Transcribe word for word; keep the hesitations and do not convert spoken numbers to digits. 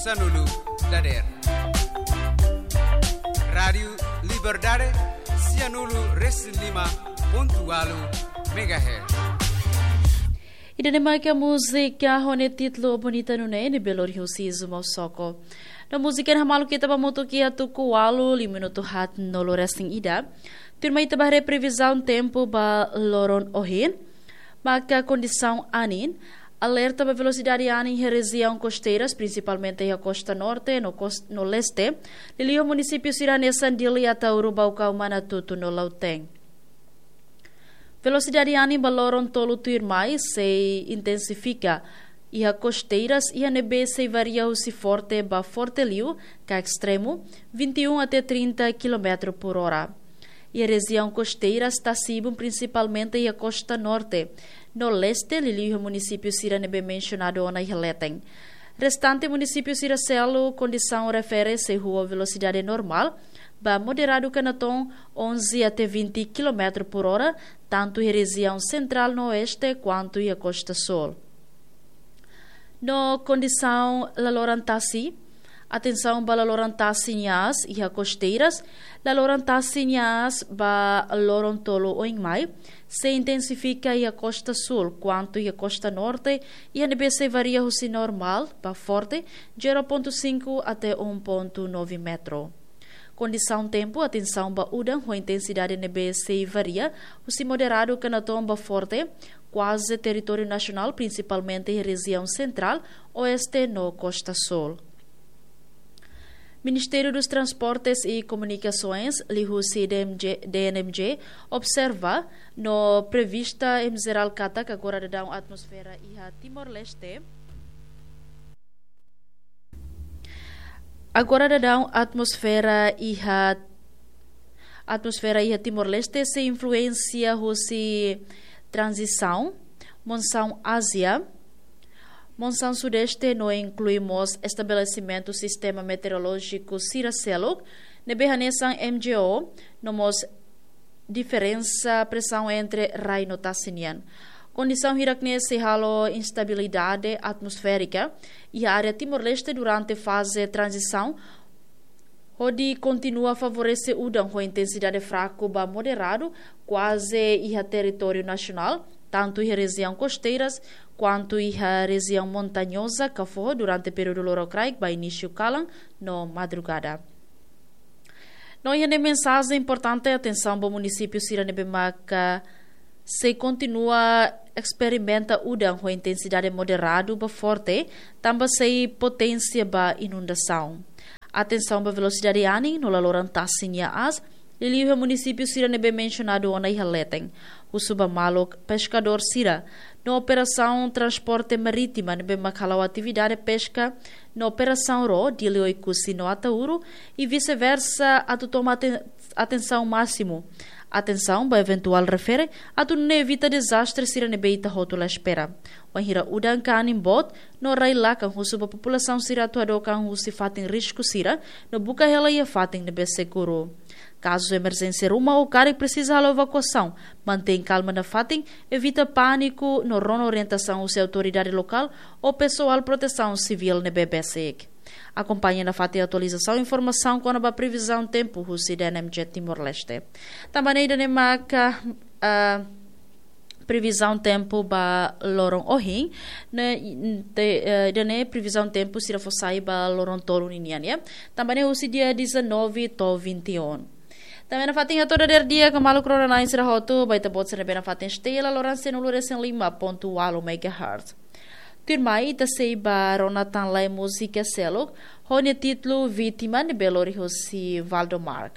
Sanulu dader. Rádiu Liberdade, sianulu resin lima pontu ualu megahertz. Ida-ne'e maka múzika ho nia títulu Bonita Nune'e, ne'ebé lori husi Zuma Soko. No múzika ne'e hamaluk ita ba hamutuk iha tuku ualu, liu minutu haatnulu resin ida. Tuirmai ita ba haree previzaun tempu ba loron ohin. Maka kondisaun anin, alerta ba velosidade anin iha rejiaun kosteiras, prinsipalmente iha kosta norte no kos-, no leste, liuliu munisípiu sira hanesan Dili, Ataúro, Baucau, Manatuto no Lautém. Velosidade anin ba loron tolu tuirmai sei intensifika iha kosteiras, iha ne'ebé sei varia husi forte ba forte liu, ka estremu, vinte e um até trinta quilómetro por hora. Iha rejiaun kosteiras tasi-ibun, prinsipalmente iha kosta norte no leste, liuliu iha munisípiu sira ne'ebé mensionadu ona iha leten. Restante munisípiu sira seluk, kondisaun refere sei ho velosidade normál ba moderadu ka natoon onze até vinte quilómetro por hora, tantu iha rejiaun sentrál no oeste kuantu iha kosta súl. No kondisaun laloran tasi, atensaun ba laloran tasi nia aas iha kosteiras, laloran tasi nia aas ba loron tolu oin mai sei intensifika iha kosta súl kuantu iha kosta norte, iha ne'ebé sei varia husi normál ba forte, zero ponto cinco até um ponto nove metro. Kondisaun tempu, atensaun ba udan ho intensidade ne'ebé sei varia husi moderadu ka natoon ba forte, kuaze territóriu nasionál, prinsipalmente iha rejiaun sentrál, oeste no kosta súl. Ministériu dos Transportes e Comunicações, liuhusi D M G, D N M G, observa no prevista em jerál katak agora daudaun atmosfera iha Timor-Leste. Agora daudaun atmosfera iha, atmosfera iha Timor-Leste sei influénsia husi tranzisaun, monsaun Ázia, monsaun Sudeste no inklui mós estabelesimentu sistema meteorolójiku sira seluk, ne'ebé hanesan M G O, no mós diferensa presaun entre rai no tasi nian. Kondisaun hirak-ne'e sei halo instabilidade atmosférika iha área Timor-Leste durante faze tranzisaun, hodi kontinua favorese udan ho intensidade fraku ba moderadu, kuaze iha territóriu nasionál, tantu iha rejiaun kosteiras, kuantu iha rejiaun montañoza ka foho durante períodu lorokraik ba inísiu kalan no madrugada. No iha ne'e mensajen importante, atensaun ba munisípiu sira ne'ebé maka sei kontinua esperimenta udan ho intensidade moderadu ba forte, tanba sei poténsia ba inundasaun. Atensaun ba velosidade anin no laloran tasi nia aas, liuliu iha munisípiu sira ne'ebé mensionadu ona iha leten. Husu ba maluk peskadór sira no operasaun transporte marítima ne'ebé mak hala'o atividade peska no operasaun ró, Dili, Oekusi no Ataúro, i vice-versa, atu toma aten-, atensaun másimu. Atensaun ba eventuál refere, atu nune'e evita dezastre sira ne'ebé ita hotu la espera. Wainhira udan ka anin boot no rai-lakan, husu ba populasaun sira atu hadook an husi fatin risku sira, no buka hela iha fatin ne'ebé seguru. Kazu emerjénsia ruma ou karik presiza halo evakuasaun, mantein kalma nafatin, evita pániku no rona orientasaun husi autoridade lokál ou pesoál protesaun sivíl ne'ebé besik. Akompaña nafatin atualizasaun informasaun kona-ba previzaun tempu husi D N M G Timor-Leste. Tanba ne'e ida-ne'e maka, ah, previzaun tempu ba loron ohin, ne'e, te-, eh, ida-ne'e previzaun tempu sira fó sai ba loron tolu ninian, ya. Tanba ne'e husi dia dezanove to'o vinte e um. Tanba ne'e nafatin hato'o dadeer di'ak ba maluk rona-na'in sira hotu, ba ita-boot sira ne'ebé nafatin stay iha laloran sianulu resin lima pontu ualu megahertz. Tuirmai ita sei ba rona tan lai múzika seluk, ho nia títulu Vítima, ne'ebé lori husi Valdo Mark.